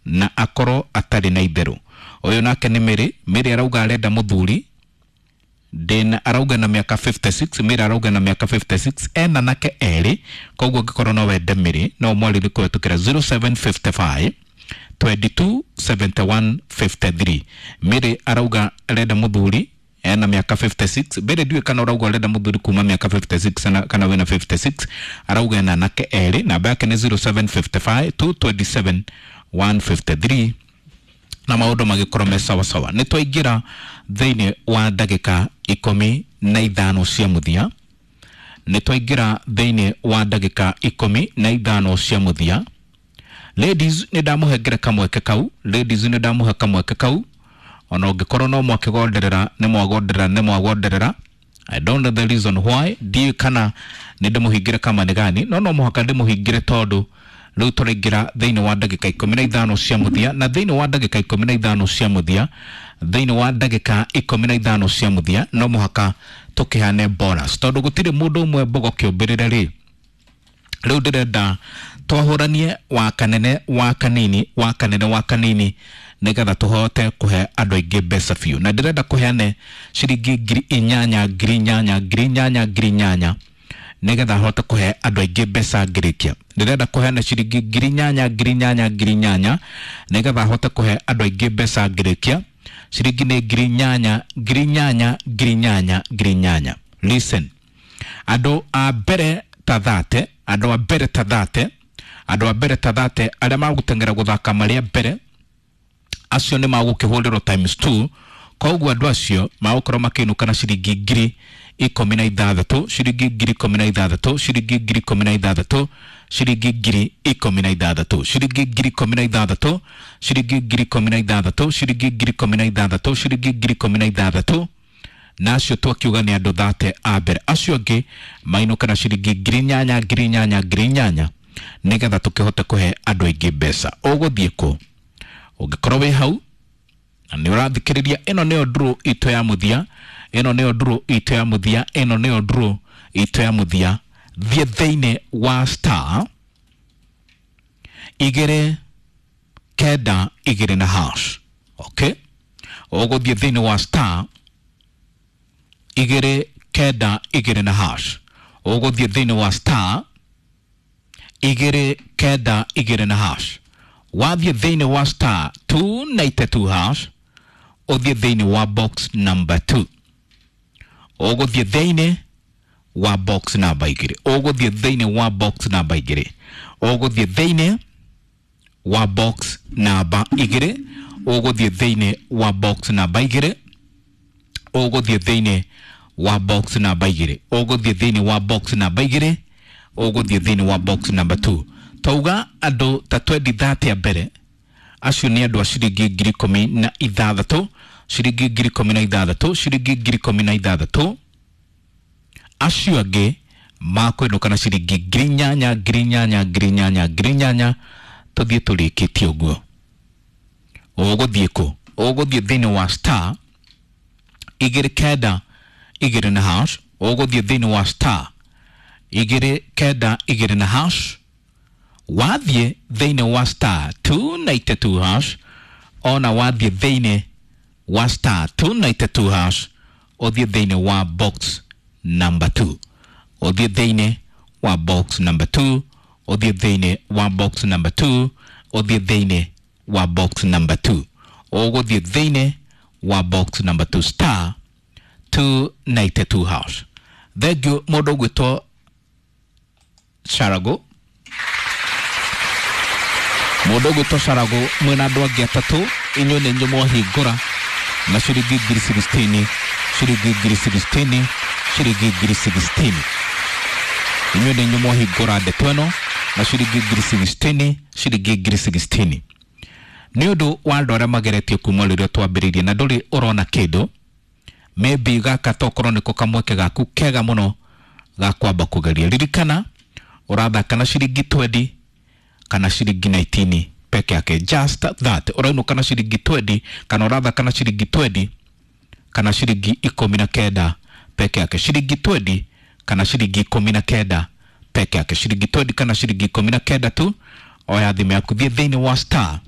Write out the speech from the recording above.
Na akorwo atarĩ na itherũ. Ũyũ nake nĩ Mary. Mary arauga arenda mũthuri ndĩna, arauga na mĩaka 56. Mary arauga na mĩaka 56, ena nake erĩ. Koguo angĩkorwo no wende Mary, no mwarĩrie kũhetũkĩra 0755 22 71 53. Mary arauga arenda mũthuri ena mĩaka 56. Mbere ndiũĩ kana ũrauga ũrenda mũthuri kuma mĩaka 56 kana wĩna 56. Arauga ena anake erĩ. Namba yake nĩ 0755 227 153, na maũndũ magĩkorwo me sawasawa. Nĩ twaingĩra thĩinĩ wa ndagĩka 15 cia mũthia. Nĩ twaingĩra thĩinĩ wa ndagĩka 15 cia mũthia. Ladies, nĩ ndamũhengere kamweke kau. Ladies, nĩ ndamũhe kamweke kau. Ona ũngĩkorwo no mwakĩgonderera, nĩ mwagonderera, nĩ mwagonderera. I don't know the reason why. Ndiũĩ kana nĩ ndĩmũhingĩre kama nĩ gani, no no mũhaka ndĩmũhingĩre tondũ rĩu tũraingĩra thĩinĩ wa ndagĩka 15 cia mũthia, na thĩinĩ wa ndagĩka 15 cia mũthia, thĩinĩ wa ndagĩka 15 cia mũthia, no mũhaka tũkĩhane bonus tondũ gũtirĩ mũndũ ũmwe mbogo kĩũmbĩrĩre. Rĩ rĩu ndĩrenda twahũranie wa kanene wa kanini wa kanene wa kanini nĩgetha tũhote kũhe andũ aingĩ mbeca biũ, na ndĩrenda kũheane ciringi 8,000, 8,000, 8,000, 8,000, nĩgetha hote kũhe andũ aingĩ mbeca ngĩrĩkia. Ndĩrenda kũheana ciringi 8,000, 8,000, 8,000, nĩgetha hote kũhe andũ aingĩ mbeca ngĩrĩkia. Ciringi nĩ 8,000, 8,000, 8,000, 8,000. Listen, andũ a mbere ta 30, andũ a mbere ta 30, andũ a mbere ta 30 arĩa magũteng'era gũthaka marĩa mbere, acio nĩ magũkĩhũrĩrwo times 2. Koguo andũ acio magũkorwo makĩinũka na ciringi 16,000, ciringi 16,000, ciringi 16,000, ciringi 16,000, ciringi 16,000, ciringi 16,000, ciringi 16,000, ciringi 16,000. Na acio twakiuga nĩ andũ 30 a mbere. Acio angĩ mainũka na ciringi 8,000, 8,000, 8,000, nĩgetha tũkĩhote kũhe andũ aingĩ mbeca. Ũgũthiĩ kũ ũngĩkorwo wĩ hau na nĩ ũrathikĩrĩria? Ĩno nĩyo draw itũ ya mũthia. Ĩno nĩyo draw itũ ya mũthia. Ĩno nĩyo draw itũ ya mũthia. Thiĩ thĩinĩ wa star 292 na hash. Okay, ũgũthiĩ thĩinĩ wa star 292 na hash. Ũgũthiĩ thĩinĩ wa star 292 na hash. Wathiĩ thĩinĩ wa star 292 hash, ũthiĩ thĩinĩ wa box number 2. Ũgũthiĩ thĩinĩ wa box number 2. Ũgũthiĩ thĩinĩ wa box number 2. Ũgũthiĩ thĩinĩ wa box number 2. Ũgũthiĩ thĩinĩ wa box number 2. Ũgũthiĩ thĩinĩ wa box number 2. Ũgũthiĩ thĩinĩ wa box number 2. Ũgũthiĩ thĩinĩ wa box number 2. Twauga andũ ta 20 30 a mbere, acio nĩ andũ a ciringi 16,000, ciringi 16,000, ciringi 16,000. Acio angĩ makwĩnũka na ciringi 8,000, 8,000, 8,000, 8,000. Tũthiĩ tũrĩkĩtie ũguo. Ũgũthiĩ kũ? Ũgũthiĩ thĩinĩ wa star 292 na hash. Ũgũthiĩ thĩinĩ wa star 292 na hash. Wathiĩ thĩinĩ wa star 292 hash, ona wathiĩ thĩinĩ wa star 292 hash, ũthiĩ thĩinĩ wa box number 2. Ũthiĩ thĩinĩ wa box number 2. Ũthiĩ thĩinĩ wa box number 2. Ũthiĩ thĩinĩ wa box number 2. Ũgũthiĩ thĩinĩ wa box number 2, star 292 hash. Thank you mũndũ ũgwĩtwo Sharago, mũndũ ũgwĩtwo Sharago mwĩna andũ angĩ atatũ. Inyuĩ nĩ inyuĩ mwahingũra na ciringi 16,000, ciringi 16,000, ciringi 16,000. Inyuĩ nĩ inyuĩ mwahingũra ndeto ĩno na ciringi 16,000, ciringi 16,000. Nĩ ũndũ wa andũ arĩa mageretie kuma rĩrĩa twambĩrĩirie na ndũrĩ ũrona kĩndũ, maybe gaka tokorwo nĩko kamweke gaku kega mũno ga kwamba kũgeria. Ririkana ũrathaka na ciringi 20 kana ciringi 19 peke yake. Just that. Ũrainũka na ciringi 20 kana ũrathaka na ciringi 20 kana ciringi 19 peke yake. Ciringi 20 kana ciringi 19 peke yake. Ciringi 20 kana ciringi 19 tu. Oya thimũ yaku, thiĩ thĩinĩ wa star